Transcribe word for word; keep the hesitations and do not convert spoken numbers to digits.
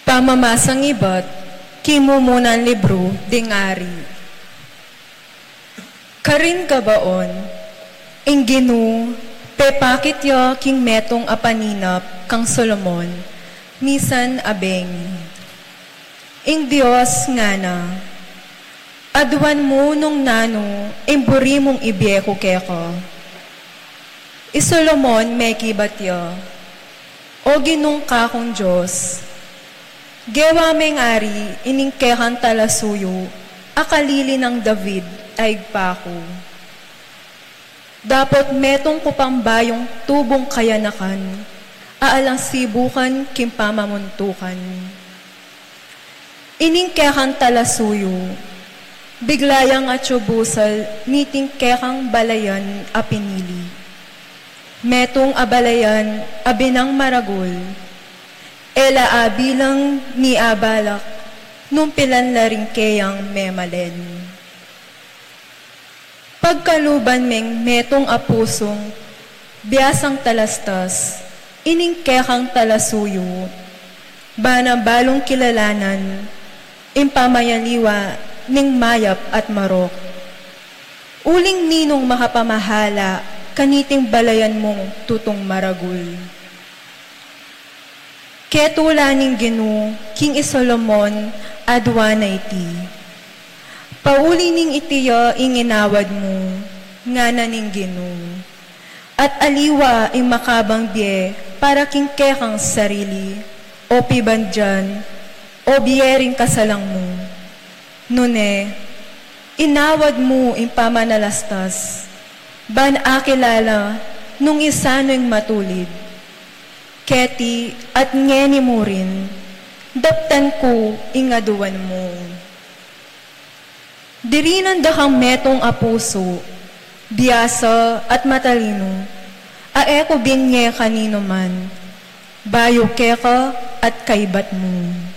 Pamamasang ibat king mumunan libru ding ari. Karin Gabaon, ing Ginu pepakit ya king metung a paninap kang Solomon, misan a bengi. Ing Dios ngana, aduan mu nung nanu ing buri mung ibie ku keka. I Solomon mekibat ya, O Ginung kakung Dios, gewa meng ari ining kekang talasuyu a kalili nang David a ibpa ku. Dapot metung ku pang bayung tubung kayanakan a alang sibukan king pamamuntukan. Ining kekang talasuyu, bigla yang atsu busal niting kekang balayan a pinili. Metung a balayan a binang maragul, e la abilang ni abalak nung pilan la ring keyang memalen. Pagkaluban meng metung a pusung biasang talastas ining kekang talasuyu, bana balung kilalanan ing pamayaliwa ning mayap at marok. Uling ninung makapamahala kaniting balayan mung tutung maragul? Ketula ning Ginu king i Solomon aduan na iti, pauli ning iti ya ing inawad mu, ngana ning Ginu, at aliwa ing makabang bie para king kekang sarili, o pibandian, o bie ring kasalang mu. Nune, inawad mu ing pamanalastas, ban akilala nung isanu ing matulid. Keti at ngeni mu rin, daptan ku ing aduan mu. Dirinan da kang metung a pusu, biasa at matalinu, a e ku binye kaninu man, bayu keka at kaibat mu.